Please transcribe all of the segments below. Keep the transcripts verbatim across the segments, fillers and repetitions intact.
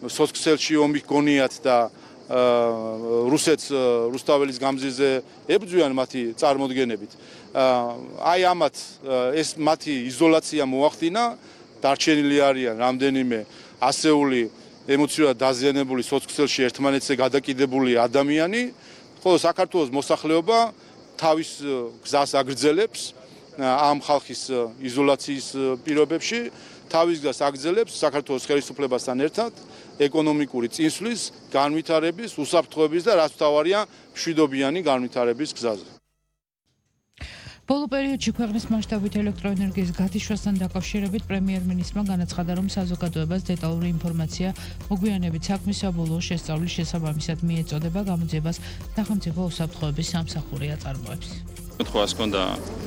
სოცხსელში ომი გონიათ და რუსეთს რუსთაველის გამზირზე ებრძვიან მათი წარმოდგენებით. აი ამათ ეს მათი იზოლაცია მოახდინა, დარჩენილი არიან რამდენიმე ასეული ემოციურად დაზიანებული სოცხსელში ერთმანეთზე გადაკიდებული ადამიანი, ხოლო საქართველოს მოსახლეობა თავის გზას აგრძელებს ამ ხალხის იზოლაციის პირობებში, თავის გზას აგრძელებს საქართველოს ხელისუფლებასთან ერთად ეკონომიკური წინსვლის, განვითარების, უსაფრთხოების და რაც მთავარია, მშვიდობიანი განვითარების გზაზე. ბოლო პერიოდში ქვეყნის მასშტაბით ელექტროენერგიის გათიშვასთან დაკავშირებით პრემიერ-მინისტრმა განაცხადა, რომ საზოგადოებას დეტალური ინფორმაცია მოგვიანებით საქმის საბოლოო შესწავლის შესაბამისად მიეწოდება, გამოძიებას სახელმწიფო უსაფრთხოების სამსახური აწარმოებს. მოთხოვას ჰქონდა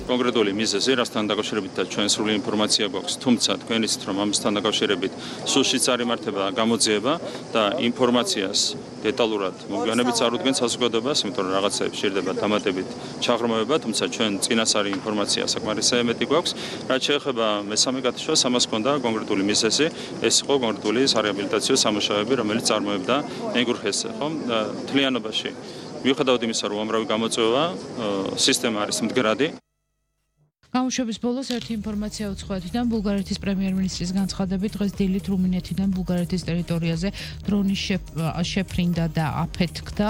კონკრეტული მიზეზი, რასთან დაკავშირებით და ჩვენ სრული ინფორმაცია გვაქვს, თუმცა თქვენ იცით, რომ ამასთან დაკავშირებით სულშიც არ იმართება გამოძიება და ინფორმაციას დეტალურად მოგვიანებით არ უდგენს საზოგადოებას, იმიტომ რომ რაღაცები შეიძლება დამატებით ჩაღრმავება, თუმცა ჩვენ წინასწარი ინფორმაცია საკმარისად მეტი გვაქვს. რაც შეეხება მესამე გათიშვას, ამას ჰქონდა კონკრეტული მიზეზი, ეს იყო კონკრეტული სარეაბილიტაციო სამუშაოები, რომელიც წარმოებდა ეგურხეს, ხო? მთლიანობაში მიუხედავად იმისა, რომ უამრავი გამოწვევა, სისტემა არის მდგრადი. გამოშვების ბოლოს ერთი ინფორმაცია უცხოეთიდან ბულგარეთის პრემიერ-მინისტრის განცხადებით დღეს დილით რუმინეთიდან ბულგარეთის ტერიტორიაზე დრონის შეფრინდა და აფეთქდა.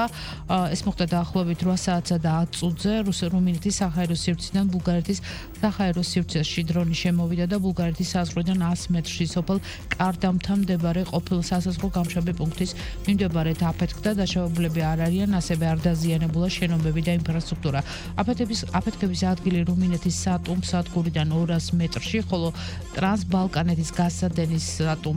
ეს მოხდა დაახლოებით რვა საათსა და ათ წუთზე რუმინეთის საჰაერო სივრციდან ბულგარეთის საჰაერო სივრცეში დრონი შემოვიდა და ბულგარეთის საზღვრიდან ას მეტრში სოფელ კარდამთან მდებარე ყოფილ სასაზღვრო გამშაბი პუნქტის მიმდებარედ აფეთქდა. დაშავებულები არ არიან, ასევე არ დაზიანებულა შენობები და ინფრასტრუქტურა. აფეთქების ადგილი რუმინეთის სატუ სადგურიდან ორას მეტრში, ხოლო ტრანსბალკანეთის გასადენის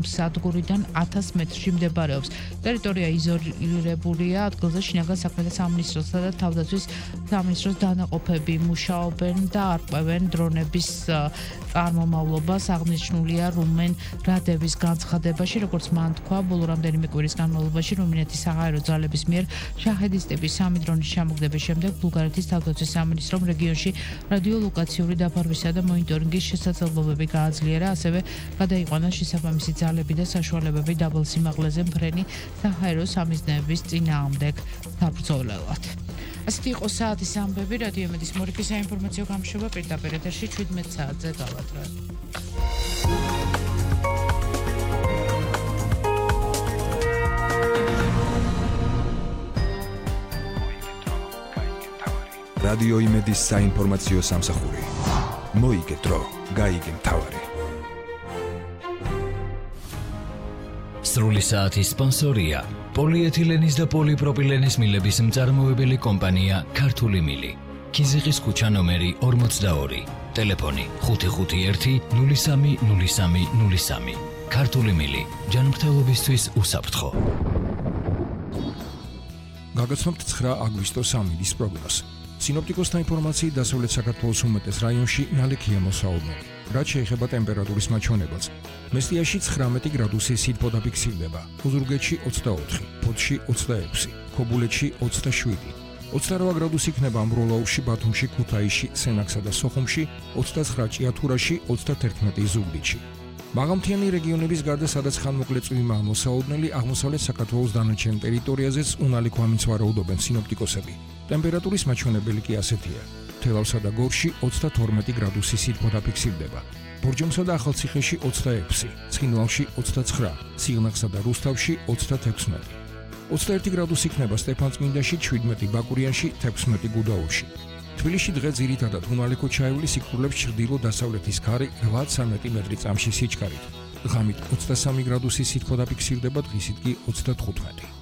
სადგურიდან ათას მეტრში მდებარეობს. ტერიტორია იზოლირებულია, ადგილზე შინაგან საქმეთა სამინისტროსა და თავდაცვის სამინისტროს დანაყოფები მუშაობენ და არკვევენ დრონების წარმომავლობას. აღნიშნულია რუმენ რადების განცხადებაში, როგორც მან თქვა, ბოლო რამდენიმე კვირის განმავლობაში რუმინეთის საჰაერო ძალების მიერ შაჰედის ტიპის სამი დრონის ჩამოგდების შემდეგ ბულგარეთის თავდაცვის სამინისტრომ რეგიონში რადიოლოკაციური დაფარვისა და მონიტორინგის შესაძლებლობები გააძლიერა, ასევე გადაიყვანა შესაბამისი ძალები და საშუალებები დაბალ სიმაღლეზე მფრენი საჰაერო სამიზნეების წინააღმდეგ საბრძოლველად. ასეთი იყო საათის ამბები, რადიო იმედის მორიგის საინფორმაციო გამოშვება პირდაპირ ეთერში შვიდმეტ საათზე გავატრევთ. რადიო იმედის საინფორმაციო სამსახური. მოიგე დრო, გაიგე მთავარი. სრული საათის სპონსორია პოლიეთილენის და პოლიპროპილენის მილების მწარმოებელი კომპანია ქართული მილი. ქიზიყის ქუჩა ნომერი ორმოცდაორი. ტელეფონი ხუთი ხუთი ერთი ნული სამი ნული სამი ნული სამი. ქართული მილი. ჯანმრთელობისთვის უსაფრთხო. გაგაცნობთ ცხრა აგვისტოს ამინდის პროგნოზს. სინოპტიკოსთა ინფორმაციით დასავლეთ საქართველოს უმეტეს რაიონში ნალექია მოსაუბნელი. რაც შეეხება ტემპერატურის მაჩვენებელს, მესტიაში ცხრამეტი გრადუსი სითბო დაფიქსირდება, ოზურგეთში ოცდაოთხი, ფოთში ოცდაექვსი, ქობულეთში ოცდაშვიდი, ოცდარვა გრადუსი იქნება ამბროლაურში, ბათუმში, ქუთაისში, სენაკსა და სოხუმში, ოცდაცხრა ჭიათურაში, ოცდათერთმეტი ზუგდიდში. მაღალმთიანი რეგიონების გარდა, სადაც ხანმოკლე წვიმაა მოსაუბნელი, აღმოსავლეთ საქართველოს დანარჩენ ტერიტორიაზეც უნალი ქვამიცვარაუდობენ სინოპტიკოსები. ტემპერატურის მაჩვენებელი კი ასეთია. თელავსა და გორში ოცდათორმეტი გრადუსი სითბო დაფიქსირდება. ბორჯომსა და ახალციხეში ოცდაექვსი, ცხინვალში ოცდაცხრა, სიღნაღსა და რუსთავში ოცდათექვსმეტი. ოცდაერთი გრადუსი იქნება სტეფანწმინდაში, შვიდმეტი ბაკურიანში, თექვსმეტი გუდაურში. თბილისში დღე ძირითადად უნალი ქოჩაეული სიკვდილებს ჩრდილო-დასავლეთის ქარი რვაცამეტი მეტრი წამში სიჩქარით. ღამით ოცდასამი გრადუსი სითბო დაფიქსირდება, დღისით კი ოცდათხუთმეტი.